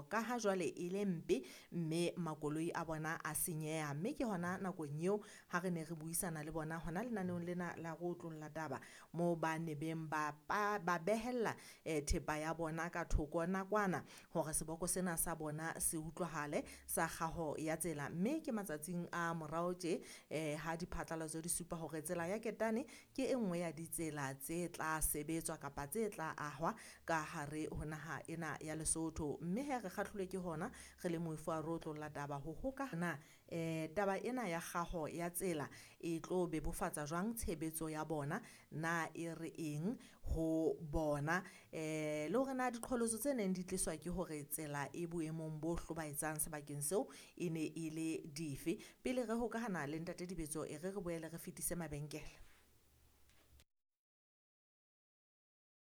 kgaho ka ha jwale e le mpe mme makoloi a bona a senyeha. Mme ke hona nakong eo ha re ne re buisana le bona hona lenaneong lena la go otlolla taba moo ba ne beng ba ba behella thepa ya bona ka thoko nakwana hore seboko sena sa bona se utlwahale sa kgaho ya tsela. Mme ke matsatsing a morao tje ha diphatlalatso di supa hore tsela ya Ketane ke e nngwe ya ditsela tse tla sebetswa kapa tse tla ahwa ka hare ho naha ena ya Lesotho. Mme he re kgahlilwe ke hona re le moifo wa re otlolla taba ho hokahana taba ena ya kgaho ya tsela e tlo bebofatsa jwang tshebetso ya bona, na e re eng ho bona, le hore na diqholotso tse neng di tliswa ke hore tsela e boemong bo hlobaetsang sebakeng seo e ne e le dife. Pele re hokahana le ntate Dibetso, e re re boele re fetise mabenkele.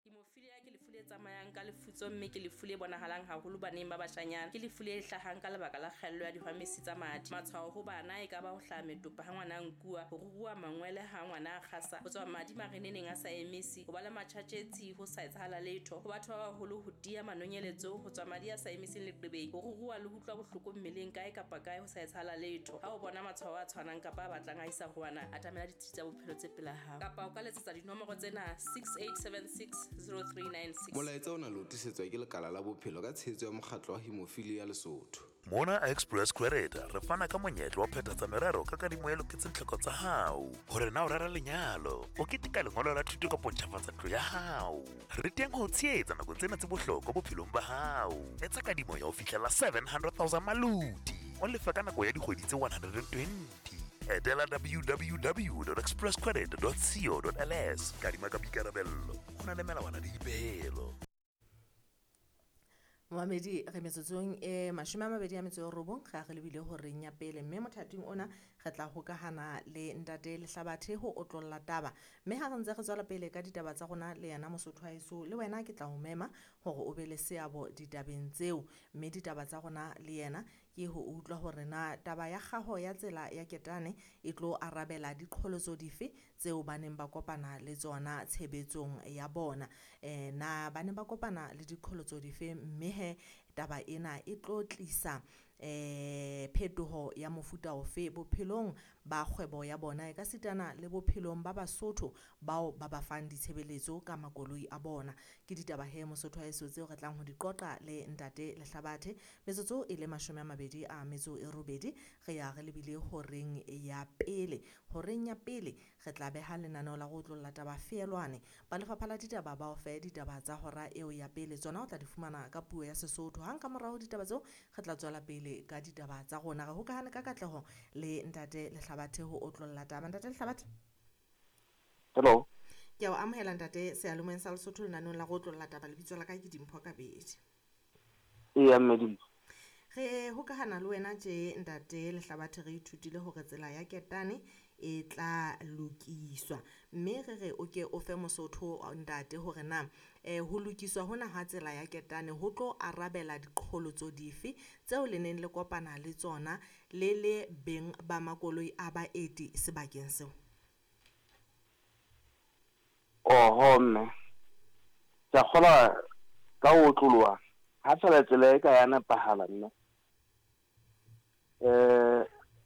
Hemophilia ke lefu le tsamayang ka lefutso mme ke lefu le bonahalang haholo baneng ba bashanyana. Ke lefu le hlahang ka lebaka la kgaello ya dihwamesi tsa madi. Matshwao ho bana e ka ba ho hlaha metopa ha ngwana a nkuwa, ho ruruha mangwele ha ngwana a kgasa, ho tswa madi mareneneng a sa emise, ho ba le matjhatjhetsi ho sa etsahala letho. Ho batho ba baholo ho tiya manonyeletso, ho tswa madi a sa emiseng leqebeng, ho ruruha le ho utlwa bohloko mmeleng kae kapa kae ho sa etsahala letho. Ha o bona matshwao a tshwanang kapa a batlang a isa ho wena, atamela ditsi tsa bophelo tse pela hao. Kapa o ka letsetsa dinomoro tsena 6876 0396. Molaetsa ona le o tlisetswa ke Lekala la Bophelo ka tshehetso ya Mokgatlo wa Hemophilia Lesotho. Mona Express Credit re fana ka monyetla wa phethatsa merero ka kadimo e loketseng tlhoko tsa hao. Hore na o rera lenyalo, o keteka lengolo la thuto kapa o ntjhafatsa ntlo ya hao. Re teng ho o tshehetsa nakong tsena tse bohlokwa bophelong ba hao. Etsa kadimo ya ho fihlela 700,000 maloti, o lefe ka nako ya dikgwedi tse 120. Etela www.expresscredit.co.ls. Kadima ka boikarabello. Ho na le melawana le dipehelo. Momamedi, re metsotsong e 29 re a re lebile horeng ya pele, mme mothating ona re tla hokahana le ntate Lehlabathe ho otlolla taba. Mme ha re ntse re tswela pele ka ditaba tsa rona le yena Mosotho wa heso, le wena ke tla o mema hore o be le seabo ditabeng tseo. Mme ditaba tsa rona le yena ke ho utlwa hore na taba ya kgaho ya tsela ya Ketane e tlo arabela diqholotso dife tseo ba neng ba kopana le tsona tshebetsong ya bona. Na ba ne ba kopana le diqholotso dife, mme he taba ena e tlo tlisa phetoho ya mofuta ofe bophelong ba kgwebo ya bona, e ka sitana le bophelong ba Basotho bao ba ba fang ditshebeletso ka makoloi a bona. Ke ditaba he Mosotho wa heso tseo re tlang ho di qoqa le ntate Lehlabathe. Metsotso e le 28 re ya re lebile horeng ya pele. Horeng ya pele re tla beha lenaneo la go otlolla taba feelwane. Ba lefapha la ditaba ba o fe ditaba tsa hora eo ya pele, tsona o tla di fumana ka puo ya Sesotho. Hang ka morao ditaba tseo re tla tswela pele ka ditaba tsa rona. Re hokahane ka katleho le ntate Lehlabathe ho otlolla taba. Ntate Lehlabathe. Hello. Ke a o amohela ntate seyalemoyeng sa Lesotho lenaneong la go otlolla taba. Lebitso la ka ke Dimpho Kabedi. Eya mme Dimpho. Re hokahana le wena tje ntate Lehlabathe, re ithutile hore tsela ya Ketane e tla lokiswa, mme re re o ke o fe Mosotho ntate hore na ho lokiswa hona ha tsela ya Ketane ho tlo arabela diqholotso dife tseo le neng le kopana le tsona le le beng ba makoloi a baeti sebakeng seo. Oho mme, ke a kgolwa ka ho otloloha ha fela tsela e ka ya nepahala mme,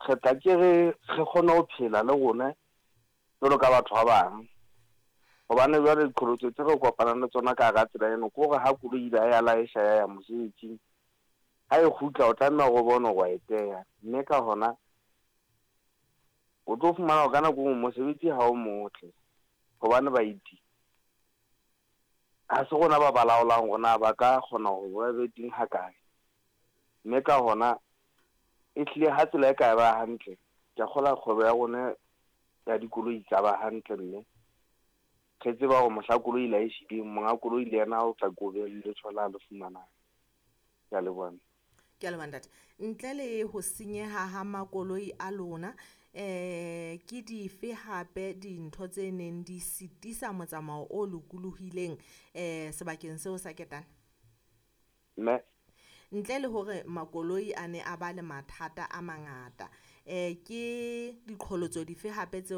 re tla ke re re kgone ho phela le rona jwalo ka batho ba bang. Hobane jwale diqholotso tse re kopanang le tsona ka hara tsela eno ke hore ha koloi ile ya laesha ya ya mosebetsing, ha e kgutla o tlameha hore o bone hore wa e teya. Mme ka hona o tlo fumana hore ka nako e nngwe mosebetsi ha o motle, hobane baeti ha se rona ba ba laolang hore na ba ka kgona hore ba be teng ha kae. Mme ka hona e hlile ha tsela e ka ba hantle, ke a kgolwa kgwebo ya rona ya dikoloi e ka ba hantle, mme re tseba hore mohla koloi la e shileng, monga koloi le yena o tla ko be le letho la le fumanang. Ke a leboha. Ke a leboha ntate. Ntle le ho senyeha ha makoloi a lona, ke dife hape dintho tse neng di sitisa motsamao o lokolohileng sebakeng seo sa Ketane? Mme ntle le hore makoloi a ne a ba le mathata a mangata, ke diqholotso dife hape tseo